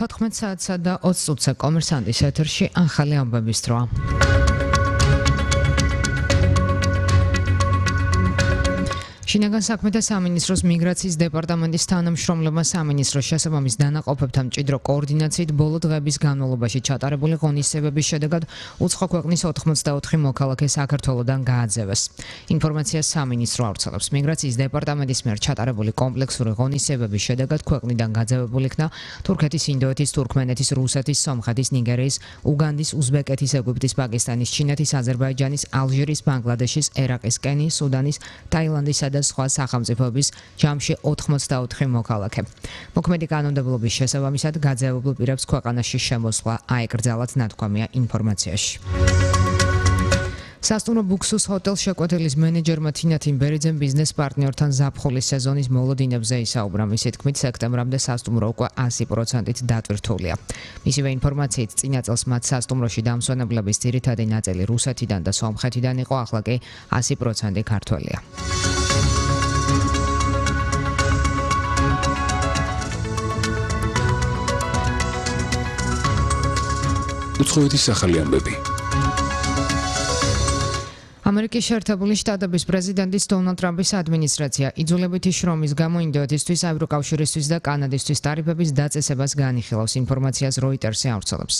14 საათსა და 20 წუთზე კომერსანტის ეთერში ახალი ამბების დროა. შინაგან საქმეთა სამინისტროს მიგრაციის დეპარტამენტის თანამშრომლებმა სამინისტროს შესაბამის დანაყოფებთან მჭიდრო კოორდინაციით ბოლო დღეების განმავლობაში ჩატარებული ღონისძიებების შედეგად უცხო ქვეყნის 84 მოქალაქე საქართველოდან გააძევეს. ინფორმაციას სამინისტრო ავრცელებს. მიგრაციის დეპარტამენტის მიერ ჩატარებული კომპლექსური ღონისძიებების შედეგად ქვეყნიდან გაძევებული იქნა თურქეთის, ინდოეთის, თურქმენეთის, რუსეთის, სომხეთის, ნიგერიის, უგანდის, უზბეკეთის, ეგვიპტის, პაკისტანის, ჩინეთის, აზერბაიჯანის, ალჟირის, ბანგლადეშის, ერაყის, კენიის, სუდანის, ტაილანდისა და სხვა სახელმწიფოების ჯამში 84 მოქალაქე. მოქმედი კანონმდებლობის შესაბამისად გაძევებულ პირებს ქვეყანაში შემოსვლა აეკრძალათ, ნათქვამია ინფორმაციაში. სასტუმრო ბუქსუს ჰოტელ შეკვეთილის მენეჯერმა თინა თიმბერიძემ ბიზნეს პარტნიორთან ზაფხულის სეზონის მოლოდინებზე ისაუბრა. მისი თქმით, სექტემბრამდე სასტუმრო უკვე 100%-ით დატვირთულია. მისივე ინფორმაციით, წინა წელს მათ სასტუმროში დამსვენებლების ძირითადი ნაწილი რუსეთიდან და სომხეთიდან იყო, ახლა კი 100% ქართველია. უცხოეთის ახალი ამბები. ამერიკის შეერთებული შტატების პრეზიდენტის დონალდ ტრამპის ადმინისტრაცია იძულებითი შრომის გამო ინდოეთისთვის, ევროკავშირისთვის და კანადისთვის ტარიფების დაწესებას განიხილავს. ინფორმაციას როიტერსი ავრცელებს.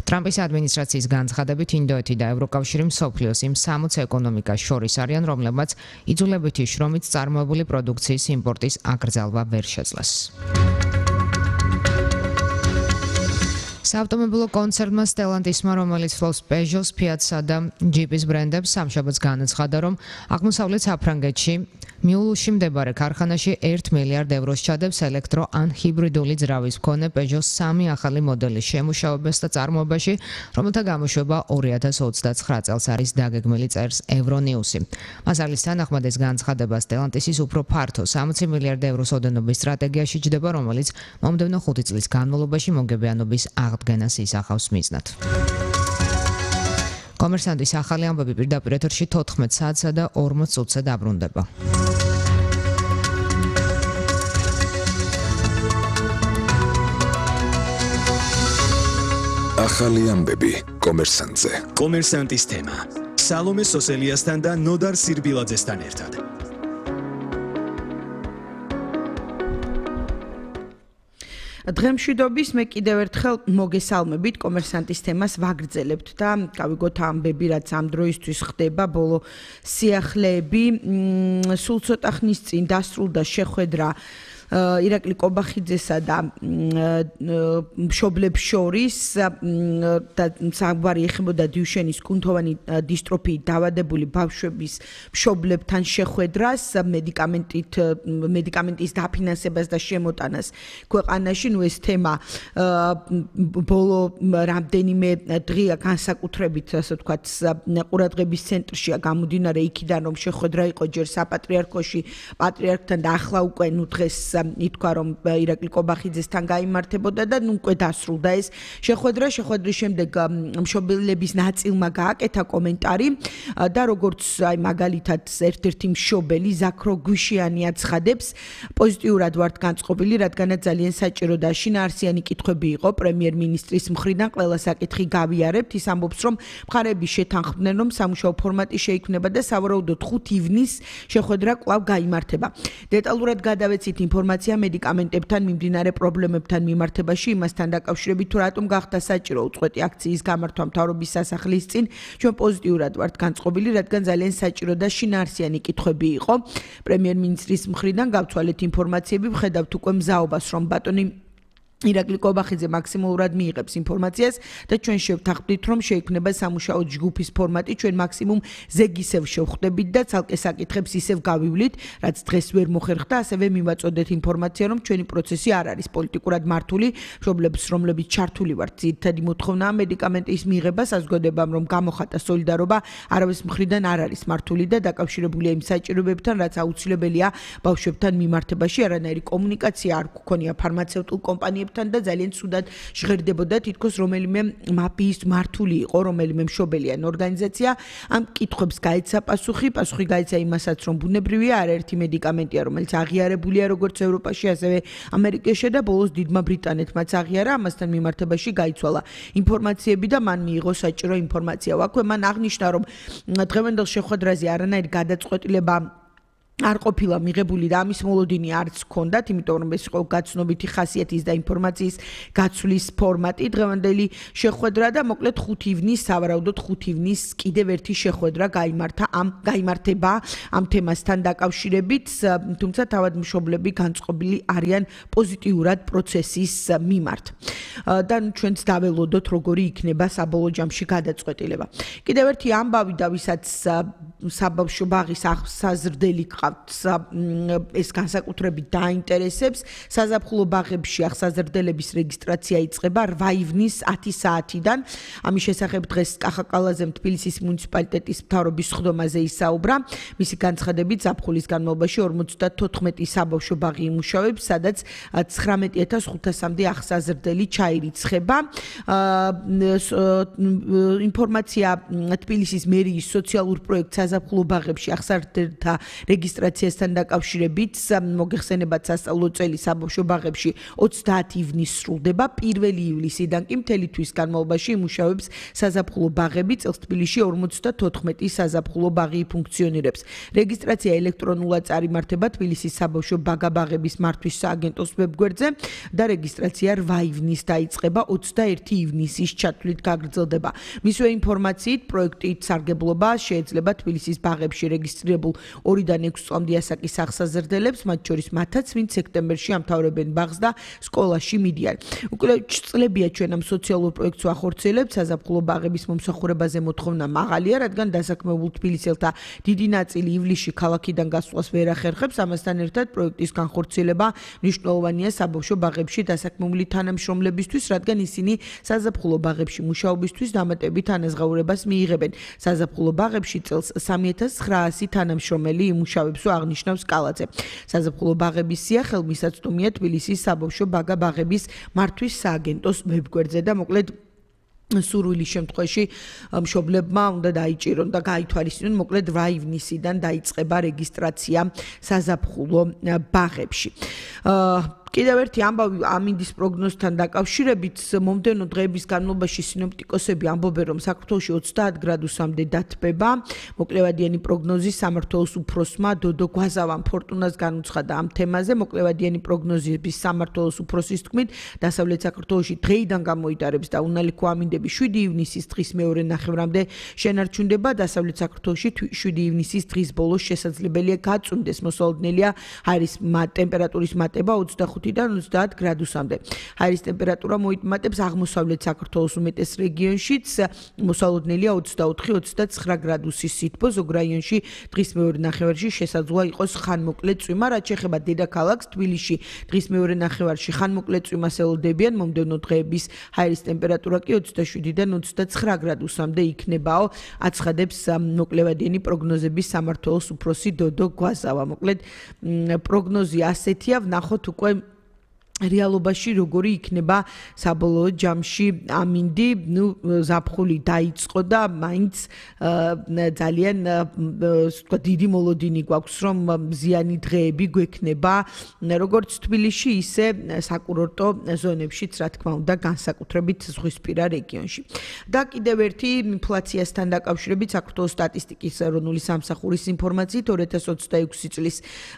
ტრამპის ადმინისტრაციის განცხადებით, ინდოეთი და ევროკავშირი მსოფლიოს იმ 60 ეკონომიკას შორის არიან, რომლებმაც იძულებითი შრომით წარმოებული პროდუქციის იმპორტის აკრძალვა ვერ შეძლეს. საავტომობილო კონცერნმა Stellantis-მა, რომელიც ფლობს Peugeot-ს, Fiat-სა და Jeep-ის ბრენდებს, სამშაბათს განაცხადა, რომ აღმოსავლეთ საფრანგეთში მიულუში მდებარე ქარხანაში 1 მილიარდ ევროს ჩადებს ელექტრო ან ჰიბრიდული ძრავის მქონე Peugeot 3 ახალი მოდელის შემუშავებას და წარმოებაში, რომელთა გამოშვება 2029 წელს არის დაგეგმილი, წერს Euronews-ი. მასალის თანახმად ეს განცხადება Stellantis-ის უფრო ფართო 60 მილიარდ ევროს ოდენობის სტრატეგიაში ჯდება, რომელიც მომდევნო 5 წლის განმავლობაში მოგებიანობის აღდგენას ისახავს მიზნად. კომერსანტის ახალი ამბები პირდაპირ ეთერში 14 საათსა და 40 წუთზე დაბრუნდება. ახალი ამბები კომერსანტზე. კომერსანტის თემა. სალომე სოსელიასთან და ნოდარ სირბილაძესთან ერთად. დღემშვიდობის მე კიდევ ერთხელ მოგესალმებით, კომერსანტის თემას ვაგრძელებთ და გავიგოთ ამბები, რაც ამ დროისთვის ხდება, ბოლო სიახლეები. სულ ცოტა ხნის წინ დასრულდა შეხვედრა ირაკლი კობახიძესა და მშობლებს შორის და საუბარი ეხებოდა დიუშენის კუნთოვანი დისტროფიით დაავადებული ბავშვების მშობლებთან შეხვედრას, მედიკამენტის დაფინანსებას და შემოტანას ქვეყანაში. ეს თემა ბოლო რამდენიმე დღეა განსაკუთრებით, ასე ვთქვათ, ყურადღების ცენტრშია გამომდინარე იქიდან, რომ შეხვედრა იყო ჯერ საპატრიარქოში პატრიარქთან და ახლა უკვე დღეს ითქვა, რომ ირაკლი კობახიძესთან გაიმართებოდა და უკვე დასრულდა ეს შეხვედრა. შეხვედრის შემდეგ მშობლების ნაწილმა გააკეთა კომენტარი და როგორც მაგალითად ერთ-ერთი მშობელი ზაქრო გვიშიანი აცხადებს, პოზიტიურად ვართ განწყობილი, რადგანაც ძალიან საჭირო და შინაარსიანი კითხვები იყო პრემიერ-მინისტრის მხრიდან, ყველა საკითხი გავიარებთ. ის ამბობს, რომ მხარეები შეთანხმდნენ, რომ სამუშაო ფორმატი შეიქმნება და სავარაუდოდ 5 ივნისს შეხვედრა კვლავ გაიმართება. დეტალურად გადავეცით ინფორმაცია მედიკამენტებთან მიმდინარე პრობლემებთან მიმართებაში, იმასთან დაკავშირებით, თუ რატომ გახდა საჭირო უწყვეტი აქციის გამართვა მთავრობის სასახლის წინ. ჩვენ პოზიტიურად ვართ განწყობილი, რადგან ძალიან საჭირო და შინაარსიანი კითხვები იყო. პრემიერ-მინისტრის მხრიდან გავცვალეთ ინფორმაციები, ვხედავთ უკვე მზაობას, რომ ბატონი ირაკლი კობახიძე მაქსიმალურად მიიღებს ინფორმაციას და ჩვენ შევთანხმდით, რომ შეიქმნება სამუშაო ჯგუფის ფორმატი, ჩვენ მაქსიმუმ ზეგისევ შევხვდებით და ცალკე საკითხებს ისევ გავივლით, რაც დღეს ვერ მოხერხდა, ასევე მივაწოდეთ ინფორმაცია, რომ ჩვენი პროცესი არ არის პოლიტიკურად მართული, მშობლებს, რომლებიც ჩართული ვართ, ძირითადი მოთხოვნა მედიკამენტის მიღება, საზოგადოებამ რომ გამოხატა სოლიდარობა, არავის მხრიდან არ არის მართული და დაკავშირებულია იმ საჭიროებებთან, რაც აუცილებელია ბავშვებთან მიმართებაში. არანაირი კომუნიკაცია არ გქონია ფარმაცევტულ კომპანიებთან მუშაობთან და ძალიან ცუდად ჟღერდებოდა თითქოს რომელიმე მაფიის მართული იყო, რომელიმე მშობელი ან ორგანიზაცია ამ კითხვებს გაეცა პასუხი გაეცა იმასაც, რომ ბუნებრივია არაერთი მედიკამენტია, რომელიც აღიარებულია როგორც ევროპაში, ასევე ამერიკაში და ბოლოს დიდმა ბრიტანეთმაც აღიარა, ამასთან მიმართებაში გაიცვალა ინფორმაციები და მან მიიღო საჭირო ინფორმაცია. აქვე მან აღნიშნა, რომ დღევანდელ შეხვედრაზე არანაირი გადაწყვეტილება არ ყოფილა მიღებული და ამის მოლოდინი არც ჰქონდათ, იმიტომ რომ ეს იყო გაცნობიტი ხასიათის და ინფორმაციის გაცვლის ფორმატი დღევანდელი შეხვედრა და მოკლედ 5 ივნის, სავარაუდოდ 5 ივნის კიდევ ერთი შეხვედრა გაიმართება ამ თემასთან დაკავშირებით, თუმცა თავად მშობლები განწყობილი არიან პოზიტიურად პროცესის მიმართ. და ჩვენც დაველოდოთ, როგორი იქნება საბოლოო ჯამში გადაწყვეტილება. კიდევ ერთი ამბავი და ვისაც საბავშვო ბაღის აღსაზრდელი ეს განსაკუთრებით დაინტერესებს, საზაფხულო ბაღებში აღსაზრდელების რეგისტრაცია იწყება 8 ივნის 10 საათიდან. ამის შესახებ დღეს კახაკალაძემ თბილისის მუნიციპალიტეტის მთავრობის სხდომაზე ისაუბრა. მისი განცხადებით, ზაფხულის განმავლობაში 54 საბავშვო ბაღი იმუშავებს, სადაც 19500-მდე აღსაზრდელი ჩაირიცხება. ინფორმაცია თბილისის მერიის სოციალურ პროექტ საზაფხულო ბაღებში აღსაზრდელთა რეგისტრაციასთან დაკავშირებით მოგეხსენებათ სასწავლო წელი საბავშვო ბაღებში 30 ივნის სრულდება, 1 ივლისიდან კი მთელი თვის განმავლობაში იმუშავებს საზაფხულო ბაღები, წელს თბილისში 54 საზაფხულო ბაღი ფუნქციონირებს. რეგისტრაცია ელექტრონულად წარიმართება თბილისის საბავშვო ბაღების მართვის სააგენტოს ვებგვერდზე და რეგისტრაცია 8 ივნის დაიწყება, 21 ივნისის ჩათვლით გაგრძელდება. მისვე ინფორმაციით, პროექტით სარგებლობა შეიძლება თბილისის ბაღებში რეგისტრირებულ 2-დან 6 წლამდე ასაკის აღსაზრდელებს, მათ შორის მათაც, ვინც სექტემბერში ამთავრებენ ბაღს და სკოლაში მიდიან. უკვე წლებია ჩვენ ამ სოციალურ პროექტს ვახორციელებთ, საზაფხულო ბაღების მომსახურებაზე მოთხოვნა მაღალია, რადგან დასაქმებულ თბილისელთა დიდი ნაწილი ივლისში ქალაქიდან გასვლას ვერ ახერხებს, ამასთან ერთად პროექტის განხორციელება მნიშვნელოვანია საბავშვო ბაღებში დასაქმებული თანამშრომლებისთვის, რადგან ისინი საზაფხულო ბაღებში მუშაობისთვის დამატებით ანაზღაურებას მიიღებენ. საზაფხულო ბაღებში წელს 3900 თანამშრომელი იმუშავებსო აღნიშნავს კალაძე. საზაფხულო ბაღების სია ხელმისაწვდომია თბილისის საბავშვო ბაღების მართვის სააგენტოს ვებგვერდზე და მოკლედ სურვილის შემთხვევაში მშობლებმა უნდა დაიჭირონ და გაითვალისწინონ, მოკლედ 8 ივნისიდან დაიწყება რეგისტრაცია საზაფხულო ბაღებში. კიდევ ერთი ამბავი ამინდის პროგნოზთან დაკავშირებით, მომდევნო დღეების განმავლობაში სინოპტიკოსები ამბობენ, რომ საქართველოში 30 გრადუსამდე დათბება. მოკლევადიანი პროგნოზი სამმართველოს უფროსმა დოდო გვაზავამ ფორტუნას განუცხადა ამ თემაზე. მოკლევადიანი პროგნოზების სამმართველოს უფროსის თქმით, დასავლეთ საქართველოში დღეიდან გამოიტარებს და უნალიქო ამინდები 7 ივნისის დღის მეორე ნახევრამდე შენარჩუნდება. დასავლეთ საქართველოში 7 ივნისის დღის ბოლოს შესაძლებელია გაწვიმდეს, მოსალოდნელია ჰაერის ტემპერატურის მატება 25-დან 30 გრადუსამდე. ჰაერის ტემპერატურა მოიტმატებს აღმოსავლეთ საქართველოს უმეტეს რეგიონშიც, მოსალოდნელია 24-29 გრადუსის სითბო, ზოგ რაიონში დღის მეორე ნახევარში შესაძლოა იყოს ხანმოკლე წვიმა, რაც შეეხება დედაქალაქს თბილისში დღის მეორე ნახევარში ხანმოკლე წვიმას ელოდებიან, მომდევნო დღეების ჰაერის ტემპერატურა კი 27-დან 29 გრადუსამდე იქნებაო, აცხადებს მოკლევადიანი პროგნოზების სამმართველოს უფროსი დოდო გვაზავა. მოკლედ პროგნოზი ასეთია, ვნახოთ უკვე რეალობაში როგორი იქნება საბოლოო ჯამში ამინდი, ზაფხული დაიწყო და მაინც ძალიან დიდი მოლოდინი გვაქვს, რომ მზიანი დღეები გვექნება როგორც თბილისში, ისე საკურორტო ზონებშიც, რა თქმა უნდა, განსაკუთრებით ზღვისპირა რეგიონში. და კიდევ ერთი ინფლაციასთან დაკავშირებით საქართველოს სტატისტიკის ეროვნული სამსახურის ინფორმაციით 2026 წლის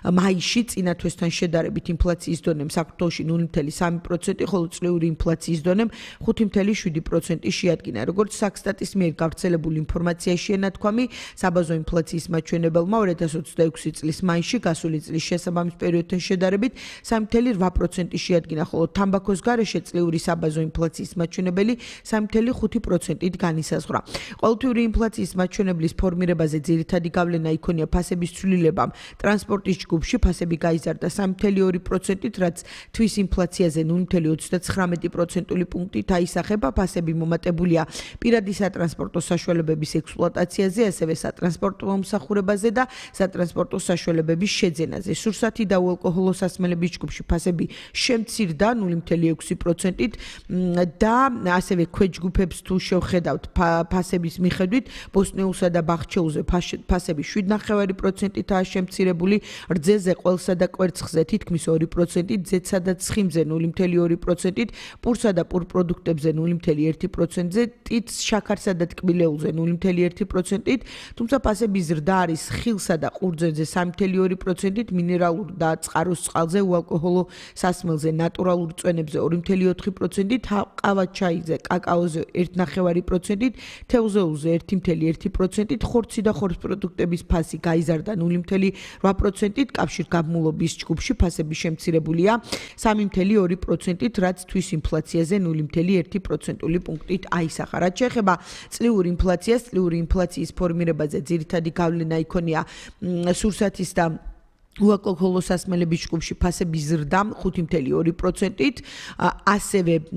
მაისში წინა თვესთან შედარებით ინფლაციის დონემ საქართველოში 0.3%, ხოლო წლიური ინფლაციის დონემ 5.7% შეადგინა. როგორც საქსტატის მიერ გავრცელებული ინფორმაცია შეენათქვამი, საბაზო ინფლაციის მაჩვენებელმა 2026 წლის მაისში გასული წლის შესაბამის პერიოდთან შედარებით 3.8% შეადგინა, ხოლო თამბაქოს გარეშე წლიური საბაზო ინფლაციის მაჩვენებელი 3.5%-ით განისაზღვრა. ყოველთვიური ინფლაციის მაჩვენებლის ფორმირებაზე ძირითადი გავლენა იქონია ფასების ცვლილებამ. ტრანსპორტის ჯგუფში ფასები გაიზარდა 3.2%-ით, რაც თვის ინფლაციაზე 0.39% პუნქტით აისახება, ფასები მომატებულია პირადი სატრანსპორტო საშუალებების ექსპლუატაციაზე, ასევე სატრანსპორტო მომსახურებაზე და სატრანსპორტო საშუალებების შეძენაზე. სურსათი და უალკოჰოლო სასმელების ჯგუფში ფასები შემცირდა 0.6%-ით და ასევე ქვეჯგუფებს თუ შევხედავთ ფასების მიხედვით, ბოსტნეულსა და ბახჩეულზე ფასები 7.9%-ითაა შემცირებული, რძეზე, ყველსა და კვერცხზე თითქმის 2%-ით, ძეცსა და ცხიმზე 0.2%-ით, პურსა და პურპროდუქტებზე 0.1%-ზე, ტიტს, შაქარსა და ტკბილეულზე 0.1%-ით, თუმცა ფასების ზრდა არის ხილსა და ყურძენზე 3.2%-ით, მინერალურ და წყაროს წყალზე, უალკოჰოლო სასმელზე, ნატურალურ წვენებზე 2.4%-ით, ყავა-ჩაიზე, კაკაოზე 1.9%-ით, თევზეულზე 1.1%-ით, ხორცი და ხორცპროდუქტების ფასი გაიზარდა 0.8%-ით, კავშირგაბმულობის ჯგუფში ფასები შემცირებულია 3.2%-ით, რაც თვის ინფლაციაზე 0.1%-ული პუნქტით აისახა. რაც შეეხება წლიურ ინფლაციას, წლიური ინფლაციის ფორმირებაზე ძირითადი გავლენა იქონია სურსათის და უალკოჰოლო სასმელების ჯგუფში ფასების ზრდა 5.2%-ით, ასევე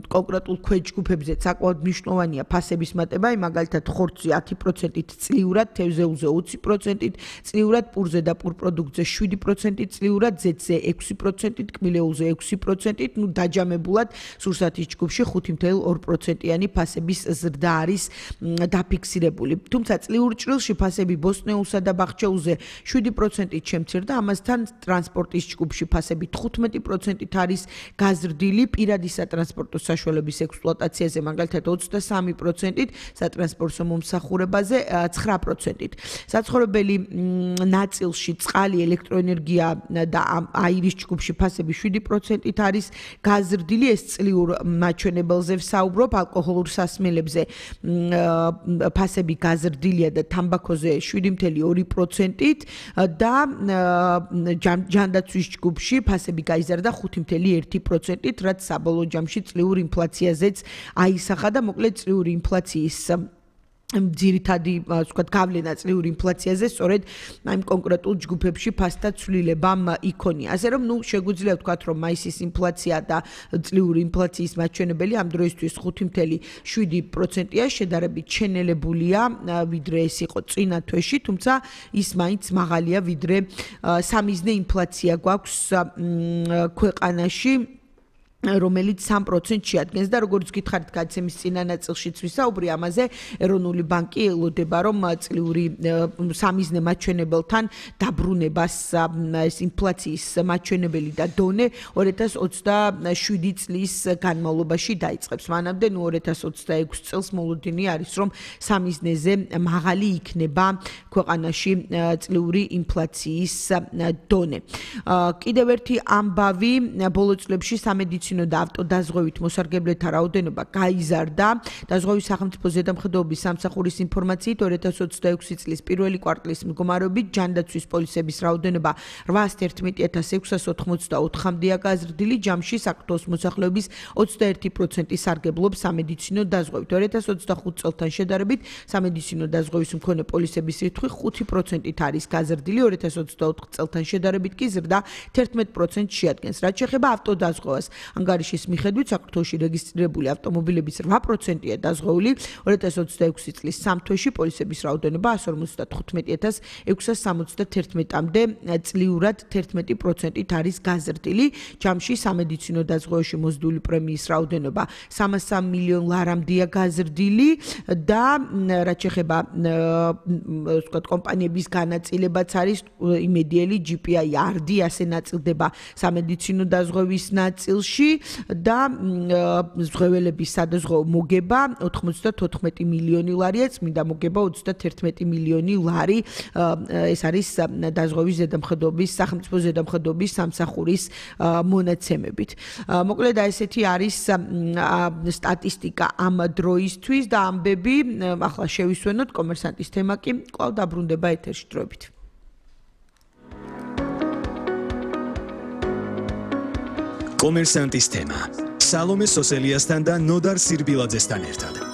კონკრეტულ ქვეჯგუფებზე საკმაოდ მნიშვნელოვანია ფასების მატება, მაგალითად ხორცზე 10%-ით წლიურად, თევზეულზე 20%-ით წლიურად, პურზე და პურპროდუქტზე 7%-ით წლიურად, ძეცზე 6%-ით, ტკბილეულზე 6%-ით, დაჯამებულად სურსათის ჯგუფში 5.2%-იანი ფასების ზრდა არის დაფიქსირებული. თუმცა წლიურ ჭრილში ფასები ბოსტნეულსა და ბახჩეულზე 7%-ით შემცირდა, ამასთან ტრანსპორტის ჯგუფში ფასები 15%-ით არის გაზრდილი, პირადი სატრანსპორტო საშუალების ექსპლუატაციაზე მაგალითად 23%-ით, სატრანსპორტო მომსახურებაზე 9%-ით. საცხოვრებელი ნაწილში წყალი, ელექტროენერგია და აირის ჯგუფში ფასები 7%-ით არის გაზრდილი, ეს წლიურ მაჩვენებელზე ვსაუბრობ, ალკოჰოლურ სასმელებზე ფასები გაზრდილია და თამბაქოზე 7.2%-ით და ჯანდაცვის ჯგუფში ფასები გაიზარდა 5.1%-ით, რაც საბოლოო ჯამში წლიურ ინფლაციაზეც აისახა და მოკლედ წლიური ინფლაციის ძირითადი გავლენა წლიური ინფლაციაზე სწორედ ამ კონკრეტულ ჯგუფებში ფასთა ცვლილებამ იქონია. ასე რომ, შეგვიძლია ვთქვათ, რომ მაისის ინფლაცია და წლიური ინფლაციის მაჩვენებელი ამ დროისთვის 5.7%-ია, შედარებით შენელებულია, ვიდრე ეს იყო წინა თვეში, თუმცა ის მაინც მაღალია, ვიდრე სამიზნე ინფლაცია გვაქვს ქვეყანაში, რომელიც 3% შეადგენს და როგორც გითხარით გადაცემის წინა ნაწილშიც ვისაუბრი ამაზე, ეროვნული ბანკი ელოდება, რომ წლიური სამიზნე მაჩვენებელთან დაბრუნებას ეს ინფლაციის მაჩვენებელი და დონე 2027 წლის განმავლობაში დაიწყებს. მანამდე 2026 წელს მოლოდინი არის, რომ სამიზნეზე მაღალი იქნება ქვეყანაში წლიური ინფლაციის დონე. კიდევ ერთი ამბავი, ბოლო წლებში სამედიცინო და ავტოდაზღვევით მოსარგებლეთა რაოდენობა გაიზარდა. დაზღვევის სახელმწიფო ზედამხედველობის სამსახურის ინფორმაციით 2026 წლის პირველი კვარტლის მდგომარეობით ჯანდაცვის პოლისების რაოდენობა 811,684-მდეა გაზრდილი, ჯამში საქართველოს მოსახლეობის 21% სარგებლობს სამედიცინო დაზღვევით. 2025 წელთან შედარებით სამედიცინო დაზღვევის მქონე პოლისების რიცხვი 5%-ით არის გაზრდილი, 2024 წელთან შედარებით კი ზრდა 11% შეადგენს. რაც შეეხება ავტოდაზღვევას, ანგარიშის მიხედვით საქართველოში რეგისტრირებული ავტომობილების 8%-ია დაზღვეული, 2026 წლის 3 თვეში პოლისების რაოდენობა 155,671-მდე წლიურად 11%-ით არის გაზრდილი, ჯამში სამედიცინო დაზღვევაში მოსდული პრემიის რაოდენობა 303 მილიონ ლარამდეა გაზრდილი და რაც შეეხება კომპანიების განაწილებაც არის იმედიელი, GPI, RD ასე ნაწილდება სამედიცინო დაზღვევის ნაწილში და ზღვეველების სადაზღვევო მოგება 94 მილიონი ლარია, წმინდა მოგება 31 მილიონი ლარი. ეს არის დაზღვევის ზედამხედველობის, სახელმწიფო ზედამხედველობის სამსახურის მონაცემებით. მოკლედ ესეთი არის სტატისტიკა ამ დროისთვის და ამბები ახლა შევისვენოთ. კომერსანტის თემა კი კვლავ დაბრუნდება ეთერში დროებით. კომერსანტის თემა. სალომე სოსელიასთან და ნოდარ სირბილაძესთან ერთად.